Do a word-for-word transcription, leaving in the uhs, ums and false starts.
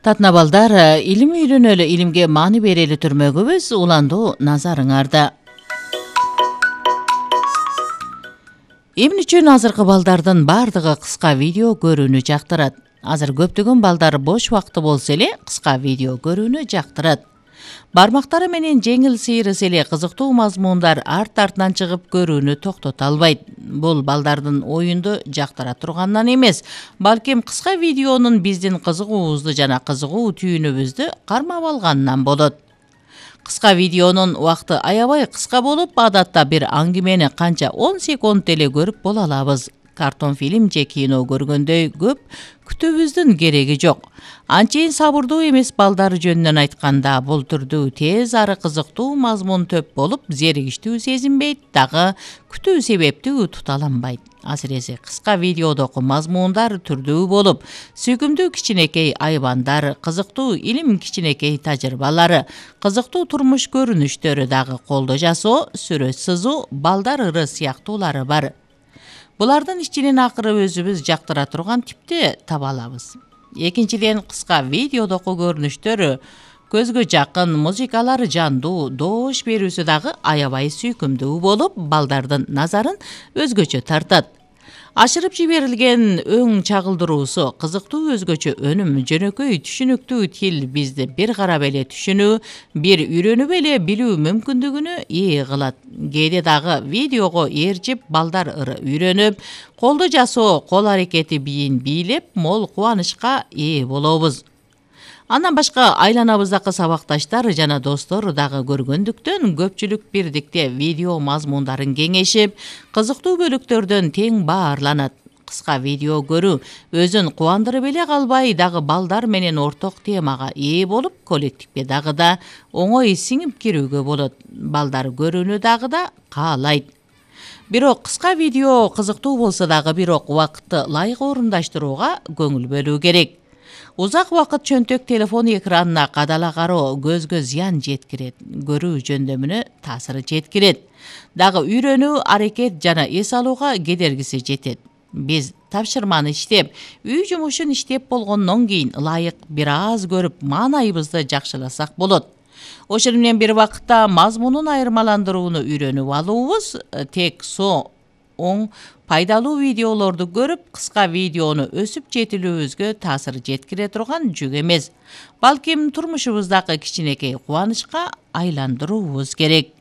Татына балдар, илим үйрөнөлү, илимге маани берели түрмөгүбүз, уландуу назарыңарда. Эмне үчүн азыркы балдардын бардыгы кыска видео көрүүнү жактырат? Азыр көптөгөн балдар бош убакыты болсо эле кыска видео көрүүнү жактырат. Бармактары менен жеңил сыйрыса эле кызыктуу мазмундар арт артынан чыгып көрүүнү токтото албайт. Бул балдардын оюнду жактыра турганынан эмес, балким кыска видеонун биздин кызыгуубузду жана кызыгуу түйүнүбүздү кармап алганынан болот. Кыска видеонун убакыты аябай кыска болуп, адатта бир аңгемени канча он секунд эле көрүп боло алабыз. Картон фильм же кино көргөндөй көп күтүүбүздүн кереги жок. Анчейин сабырдуу эмес балдар жөнүнөн айтканда, бул түрдүү тез ары кызыктуу мазмун төп болуп, зеригиштүү сезинбейт, дагы күтүү себептүү туталанбайт. Асиресе кыска видеодогу мазмундар түрдүү болуп, сүйкүмдүү кичинекей айбандар, кызыктуу илим кичинекей тажрыйбалары, кызыктуу турмуш көрүнүштөрү, дагы колдо жасоо, сүрөт сызуу, балдар ыры сыяктуулары бар. Булардын ичинен акыры өзүбүз жактыра турган типти таба алабыз. Экинчиден, кыска видеодогу көрүнүштөр көзгө жакын, музыкалары жандуу, доош берүүсү дагы аябай сүйкүмдүү болуп, балдардын назарын өзгөчө тартат. Ашырып жиберилген өң чагылдыруусу, кызыктуу өзгөчө өнүм, жөнөкөй түшүнүктүү тил бизди бир карап эле түшүнүү, бир үйрөнүп эле билүү мүмкүндүгүнө ээ кылат. Кээде дагы видеого ээрчип, балдар ыры үйрөнүп, колдо жасоо, кол аракети бийин бийлеп, мол кубанычка ээ болобуз. Андан башка айланабыздагы сабакташтар жана достор дагы көргөндүктөн, көпчүлүк бирдикте видео мазмундарын кеңешип, кызыктуу бөлүктөрдөн тең баарланат. Кыска видео көрүү өзүн кубандырып эле калбай, дагы балдар менен орток темага ээ болуп, коллективге дагы да оңой сиңип кирүүгө болот. Балдар көрүүнү дагы да каалайт. Бирок кыска видео кызыктуу болсо дагы, бирок убакытты ылайык орундаштырууга көңүл бөлүү керек. Узак убакыт чөнтөк телефон экранына кадала кароо көзгө зыян жеткирет, көрүү жөндөмүнө таасиры жеткирет. Дагы үйрөнүү, аракет жана эс алууга кедергиси жетет. Биз тапшырманы иштеп, үй жумушун иштеп болгондон кийин ылайык бир аз көрүп, маанайыбызды жакшыласак болот. Ошону менен бир убакытта мазмунун айырмаландырууну үйрөнүп алуубуз тек со оң пайдалуу видеолорду көрүп, кыска видеону өсүп жетилүүбүзгө таасир жеткире турган жүк эмес. Балким турмушубуздагы кичинекей кубанычка айландыруубуз керек.